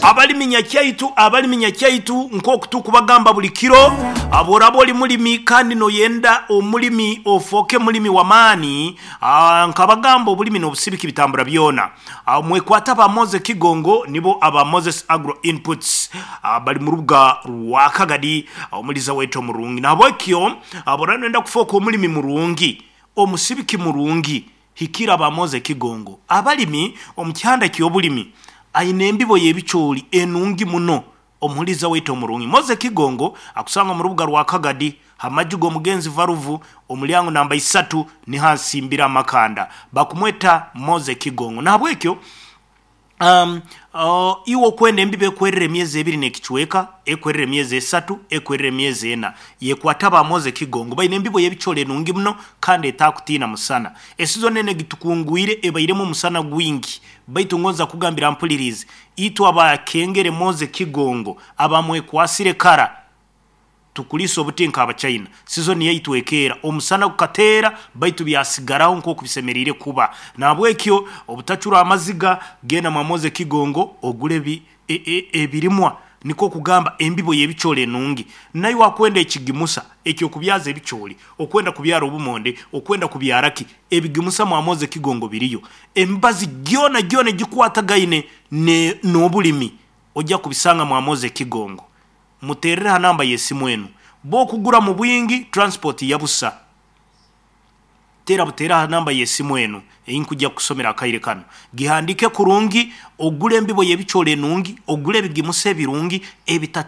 Abalimi nyakyaitu, abalimi nyakyaitu, nk'oku tukubagamba buli kiro, bworaba oli mulimi kandi noyenda omulimi ofooke mulimi w'amaani, nkabagamba obulimi n'obusibiki bitambura byona. Mwekwate aba Moses Kigongo, nibo aba Moses Agro Inputs, bali mu rubuga rwa Kagadi, omuliza waitu omurungi. Nahabwekyo bworaba noyenda kufooka omulimi murungi, omusibiki murungi, hikira aba Moses Kigongo. Abalimi omu kihanda ky'obulimi aine embibo y'ebicoori enungi muno omuhuliza waitu omurungi. Moses Kigongo akusanga omu rubuga rwa Kagadi ha maju g'omugenzi Varuvu, omulyango namba isatu, niho asimbire amakanda. Bakumweta Moses Kigongo. Nahabwekyo iwe okwenda embibo ekwerera emyezi ebiri n'ekicweka, ekwerera emyezi esatu, ekwerera emyezi ena, yekwate aba Moses Kigongo. Baine embibo y'ebicoori enungi muno kandi etakutiina musana. Esizoni enu egitukungwire ebairemu omusana gwingi, baitu ngonza kugambira mpuliriize, itwe abakengere Moses Kigongo abamwekwasire kara, tukulisa obuti nk'Abachaina. Sizoni yaitu ekeera, omusana gukateera baitu byasigaraho nk'oku bisemeriire kuba. Nahabwekyo obutacura amaziga, genda mwa Moses Kigongo ogule ebirimwa, nikwo kugamba embibo y'ebicoori enungi. Naiwe akwenda ekigimusa eky'okubyaza ebicoori, okwenda kubyara obumonde, okwenda kubyara ki, ebigimusa mwa Moses Kigongo biriyo. Emibazi gyona gyona egikwatagaine n'obulimi ojja kubisanga mwa Moses Kigongo. Muteerere ha namba y'esimu enu. Bw'okugura mu bwingi, transport ya busa. Teera buteera ha namba y'esimu enu ei nkujja kukusomera akaire kanu. Gihandiike kurungi, ogule embibo y'ebicoori enungi, ogule ebigimusa ebirungi ebita.